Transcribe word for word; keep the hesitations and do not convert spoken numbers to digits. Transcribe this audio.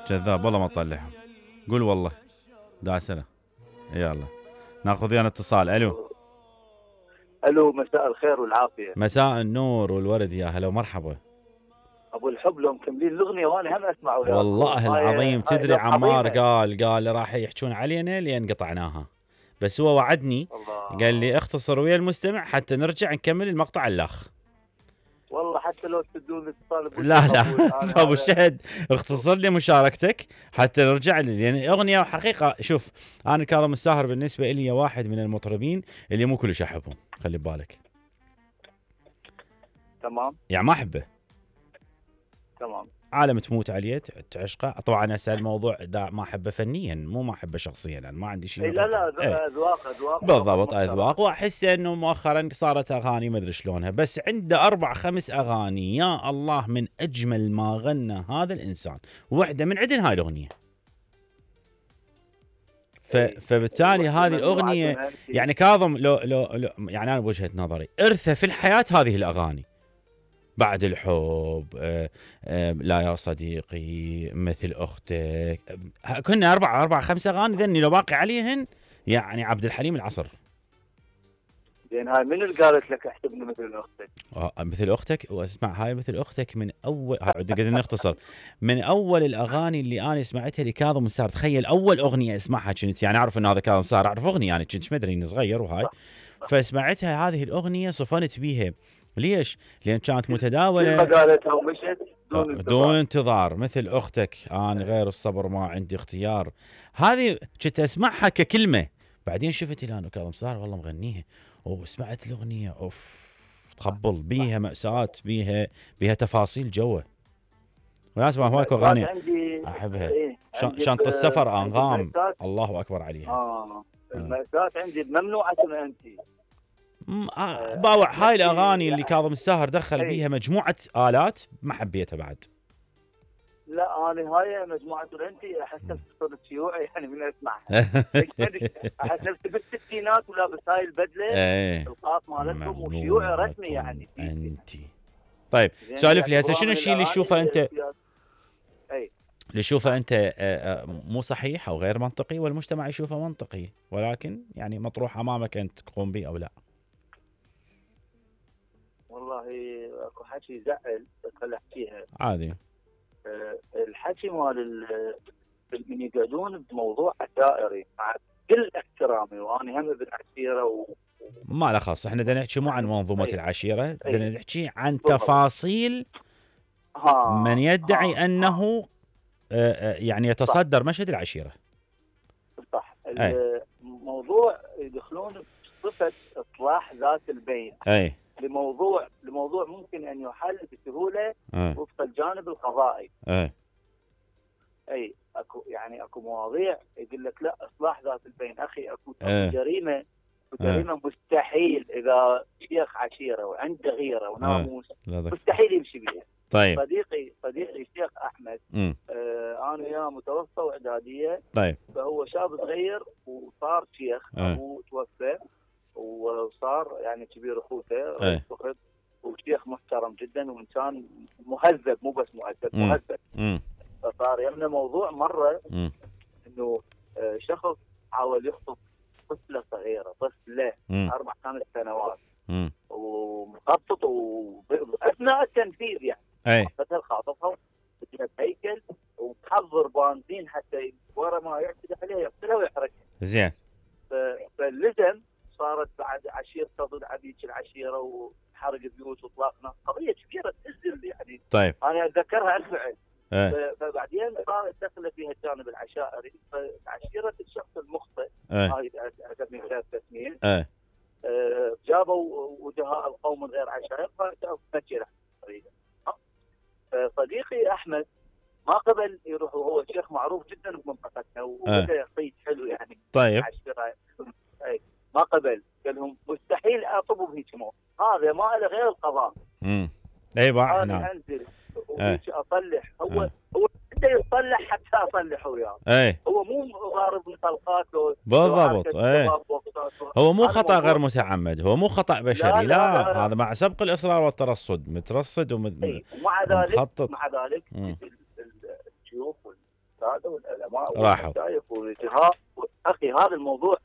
كذاب والله ما تطلعهم. قول والله داسنا. يلا ناخذ ويانا اتصال. الو الو مساء الخير والعافيه. مساء النور والورد يا هلا ومرحبا. ابو الحب لو مكملين الاغنيه وانا هم اسمع وياكم. والله العظيم تدري عمار قال قال راح يحجون علينا لين قطعناها، بس هو وعدني الله. قال لي اختصر ويا المستمع حتى نرجع نكمل المقطع الاخ. والله حتى لو تدون اتصال لا لا ابو الشهد اختصر لي مشاركتك حتى نرجع لي، لان يعني اغنيه وحقيقه. شوف انا كاظم الساهر بالنسبه لي واحد من المطربين اللي مو كلش احبهم، خلي ببالك. تمام يعني ما احبه تمام. عالم تموت عليه تعشقه. طبعا هسه الموضوع ما احبه فنيا مو ما احبه شخصيا، يعني ما عندي شيء. لا لا اذواق اذواق بالضبط اذواق. واحس انه مؤخرا صارت اغاني ما ادري شلونها، بس عنده اربع خمس اغاني يا الله من اجمل ما غنى هذا الانسان، واحده من عندن هاي الاغنيه. ف... فبالتالي هذه الاغنيه يعني كاظم لو لو, لو يعني انا بوجهه نظري ارثه في الحياه هذه الاغاني. بعد الحب، آه آه لا يا صديقي، مثل اختك، آه كنا اربع اربع خمس اغاني ذني لو باقي عليهن يعني عبد الحليم العصر. زين هاي من اللي قالت لك احسبني مثل اختك؟ آه مثل اختك. واسمع هاي مثل اختك من اول قدرنا نختصر من اول الاغاني اللي انا سمعتها لكاظم الساهر. تخيل اول اغنيه اسمعها كنت يعني اعرف ان هذا كاظم الساهر، اعرف اغنيه يعني كنت مدري اني صغير وهاي، فسمعتها هذه الاغنيه صفنت بيها. ليش؟ لأن كانت متداولة. قالتها ومشت دون انتظار. دون انتظار مثل أختك، أنا غير الصبر ما عندي اختيار. هذه كنت أسمعها ككلمة، بعدين شفت الآن كاظم الساهر والله مغنيها وسمعت الأغنية أوف تخبل بيها مأساة، بيها بيها تفاصيل جوه. وناس ما هواك أغاني أحبها. إيه؟ شنطة السفر أنغام الله أكبر عليها. آه المأساة عندي ممنوعة أنت. آه باوع هاي الاغاني اللي كاظم الساهر دخل أي. بيها مجموعه الات ما حبيتها بعد. لا انا هاي مجموعه انت احس صرت شيوعي يعني من اسمعها. احس نفسي بالستينات ولابس هاي البدله القاط مالتهم وشيوعي رسمي يعني انت. طيب سالف لي هسه شنو الشيء اللي تشوفه انت اي اللي تشوفه انت مو صحيح او غير منطقي والمجتمع يشوفه منطقي ولكن يعني مطروح امامك انت تقوم به او لا؟ والله اكو حكي يزعل بس خلي احكيها عادي. أه الحكي مال من يقعدون بموضوع عشائري مع كل احترامي وانا هم ابن عشيره و... ما له خاص. احنا بدنا نحكي مو عن منظومه أيه. العشيره، بدنا نحكي عن تفاصيل ها. من يدعي ها. انه آه يعني يتصدر صح. مشهد العشيره. صح. الموضوع يدخلون بصفه اصلاح ذات البين. اي لموضوع لموضوع ممكن ان يحل بسهوله أه. وفق الجانب القضائي. أه. اي اكو يعني اكو مواضيع يقول لك لا اصلاح ذات البين اخي اكو أه. جريمه جريمه أه. مستحيل اذا شيخ عشيره وعنده غيره وناموس أه. مستحيل يمشي بيها. طيب صديقي صديقي الشيخ احمد آه انا وياه متوسطه واعداديه. طيب فهو شاب صغير وصار شيخ. أه. ابوه توفى وصار يعني كبير اخوته أه. وشيخ محترم جدا وانسان مهذب مو بس مؤدب مهذب. فصار يمنا موضوع مره م. انه شخص حاول يخطب طفله صغيره طفله اربع خمس سنوات م. ومخطط واثناء التنفيذ يعني اي فتل خاطفها بدها هيكل وتحضر بنزين حتى ورا ما يعتدي عليها يقتلها ويحرقها. زين. فلزم صارت بعد عشيرة ضد عبيد العشيرة وحرق بيوت وطلاق ناس قضية كبيرة تأزل يعني. طيب أنا أتذكرها الفعل. أه. فبعدين صارت دخل فيها الجانب العشائري فعشيرة الشخص المخطئ أه. هاي أعتبر غير تسمية أه. أه جابوا وجهاء القوم من غير عشائر فجابوا فكرة طريقة. صديقي أحمد ما قبل يروح وهو شيخ معروف جدا بمنطقتنا وبدأ يصيد حلو يعني. طيب أي ما قبل قال لهم مستحيل اطلبوا بهيك موت هذا ما له غير القضاء. امم اي بقى انا انزل وهيك اصلح هو أه. هو بده يصلح حتى اصلح وياه. ايه هو مو ضارب طلقات بالضبط. ايه هو مو خطا غير موضوع متعمد، هو مو خطا بشري، لا لا, لا لا لا. هذا مع سبق الاصرار والترصد، مترصد وم- اي ومع ذلك ومخطط. مع ذلك مم. ال- ال- الشيوخ والساده والعلماء راحوا. والمشايخ والجهات. اخي هذا الموضوع